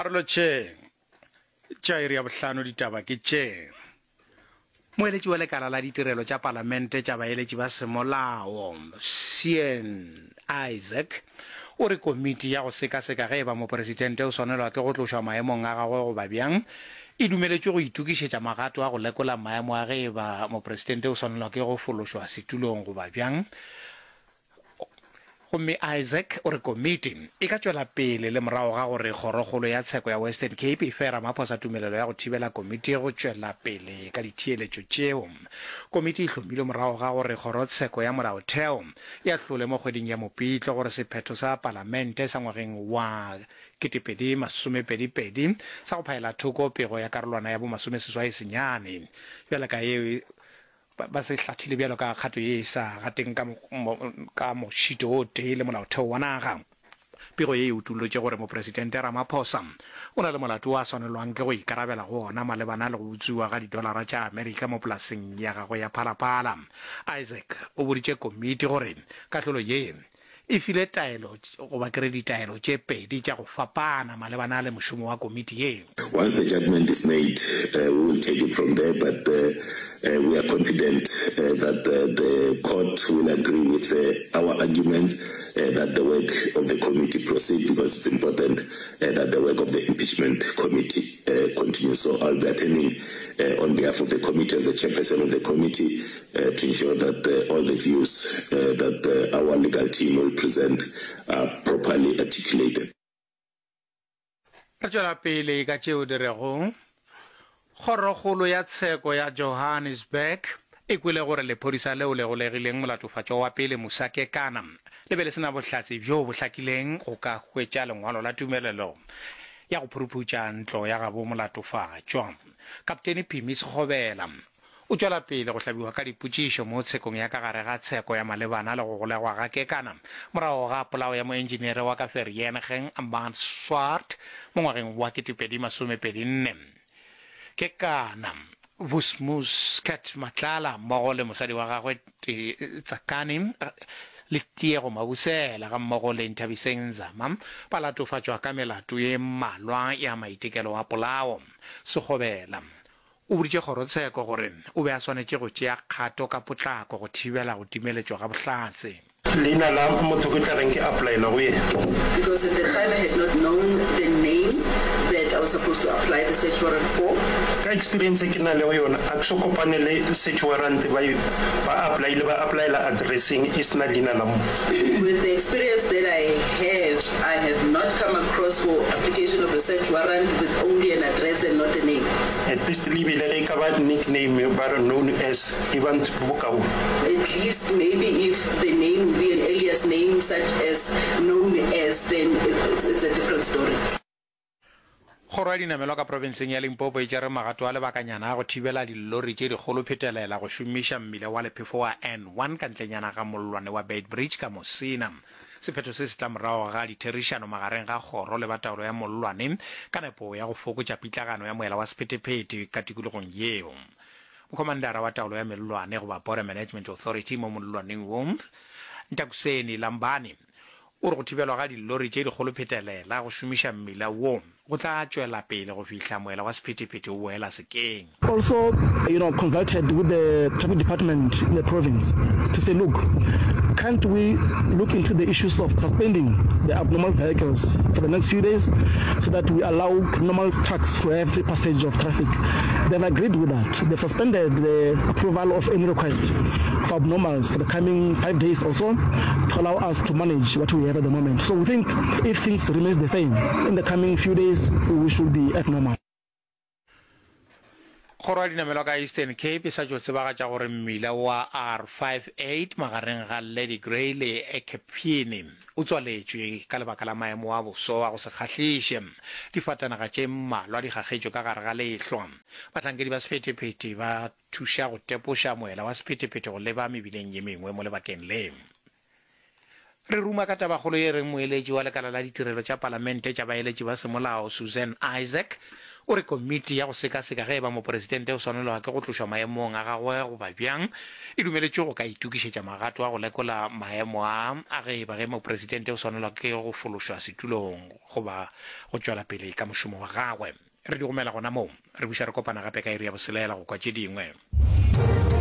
A re lotšheng. Tša iri ya bohlano ditaba ke tše. Moeletši wa lekala la ditirelo tša palamente tša baeletši ba semolao, Sean Isaac, o re komiti ya go sekaseka ge e ba mopresidente o swanelwa ke go tlošwa maemong a gagwe goba bjang e dumeletšwe go itokišetša magato a go lekola maemo a ge e ba mopresidente o swanelwa ke go fološwa setulong goba bjang. Gomme Isaac o re komiti e ka tšwela pele le morago ga gore Kgorokgolo ya Tsheko ya Western Cape e fe Ramaphosa tumelelo ya go thibela komiti go tšwela pele ka ditheeletšo tšeo. Komiti e hlomilwe morago ga gore Kgorotsheko ya Molaotheo e ahlole mo kgweding ya Mopitlo gore sephetho sa Palamente sa ngwageng wa 2022 sa go phaela thoko pego ya karolwana ya bo 89 bjalo ka yeo Ba se hlathile bjalo ka kgato ye e sa gateng ka, ka mošito o tee le molaotheo wa naga. Pego ye e utollotše gore Mopresidente Ramaphosa o na le molato wo a swanelwang ke go ikarabela go ona malebana le go utswiwa ga didolara tša Amerika mo polaseng ya gagwe ya Phalaphala. Isaac o boditše komiti gore kahlolo ye e file taelo goba ke re ditaelo tše pedi tša go fapana malebana le mošomo wa komiti ye. Once the judgment is made, we will take it from there, but we are confident that the court will agree with our arguments that the work of the committee proceed because it's important that the work of the impeachment committee continues. So I'll be attending on behalf of the committee as the chairperson of the committee to ensure that all the views that our legal team will present are properly articulated. Re tšwela pele ka tšeo di rego, Kgorokgolo ya Tsheko ya Johannesburg e kwele gore lephodisa leo le golegileng molatofatšwa wa pele Musa Kekana le be le se na bohlatse bjo bo hlakileng go ka hwetša lengwalo la tumelelo ya go phuruphutša ntlo ya gabo molatofatšwa. Kaptene Phimi Sekgobela O tšwela pele go hlabiwa ka dipotšišo mo tshekong ya ka gare ga tsheko ya malebana le go golegwa ga Kekana morago ga polao ya moentšineere wa ka Vereeniging Mart Swart mo ngwageng wa 2024. Kekana, Vusmus Cat Matlala mmogo le mosadi wa gagwe Tsakani le Tiego Mabusela gammogo le Nthabiseng Nzama ba latofatšwa ka melato ye mmalwa ya maitekelo a polao. Sekgobela O boditše kgorotsheko gore o be a swanetše go tšea kgato ka potlako go thibela go timeletšwa ga bohlatse. Leina la motho ke tla reng ke applyela go yena. Because at the time I had not known the name that I was supposed to apply the search warrant for. Ka experience e ke nalego yona a ke so kopane le search warrant ba e ba applyile ba applyela addresseng e sena leina la motho. With the experience that I have I have not come across for application of a search warrant with only an address and not a name. At least le bile ge e ka ba nickname ba re known as e ba bokaone. At least maybe if the name would be an alias name such as known as then it's, it's a different story. Kgoro ya Dinamelwa ka profenseng ya Limpopo e tšere magato a lebakanyana a go thibela dillori tše dikgolo phetelela go šomiša mmila wa lephefo wa N1 ka ntlenyana ga mollwane wa Beitbridge ka Musina. Sephetho se se tla morago ga ditherišano magareng ga kgoro le ba taolo ya mollwane ka nepo ya go fokotša pitlagano ya moela wa sephetephete ka tikologong yeo. Mokhomandara wa taolo ya mellwane goba Border Management Authority mo mollwaneng wo, Ntakuseni Lambani, O re go thibelwa ga dillori tše dikgolo phetelela go šomiša mmila wo go tla tšwela pele go fihla moela wa sephethephethe o boela sekeng. Also, you know, consulted with the traffic department in the province to say, look, can't we look into the issues of suspending the abnormal vehicles for the next few days so that we allow normal trucks to have free passage of traffic? They've agreed with that. They've suspended the approval of any request for abnormals for the coming 5 days or so to allow us to manage what we have at the moment. So we think if things remains the same in the coming few days, we should be at normal. Kgoro ya dinamelwa ka Eastern Cape e sa tšo tsebagatša gore mmila wa R58 magareng ga Lady Grey le Ekephini o tswaletšwe ka lebaka la maemo a boso a go se kgahliše. Difatanaga tše mmalwa di gagetšwe ka gare ga lehlwa. Bahlankedi ba sephethephethe ba thuša go tepoša moela wa sephethephethe go leba mebileng ye mengwe mo lebakeng le. Re ruma ka tabakgolo ye reng moeletši wa lekala la ditirelo tša palamente tša baeletši ba semolao Suzanne Isaac O re komiti ya go sekaseka ge e ba mopresidente o swanelwa ke go tlošwa maemong a gagwe goba bjang e dumeletšwe go ka itokišetša magato a go lekola maemo a a ge e ba ge mopresidente o swanelwa ke go fološwa setulong goba go tšwela pele ka mošomo wa gagwe. Re di gomela gona moo. Re buša re kopana gape ka iri ya boselela go kwa tše dingwe.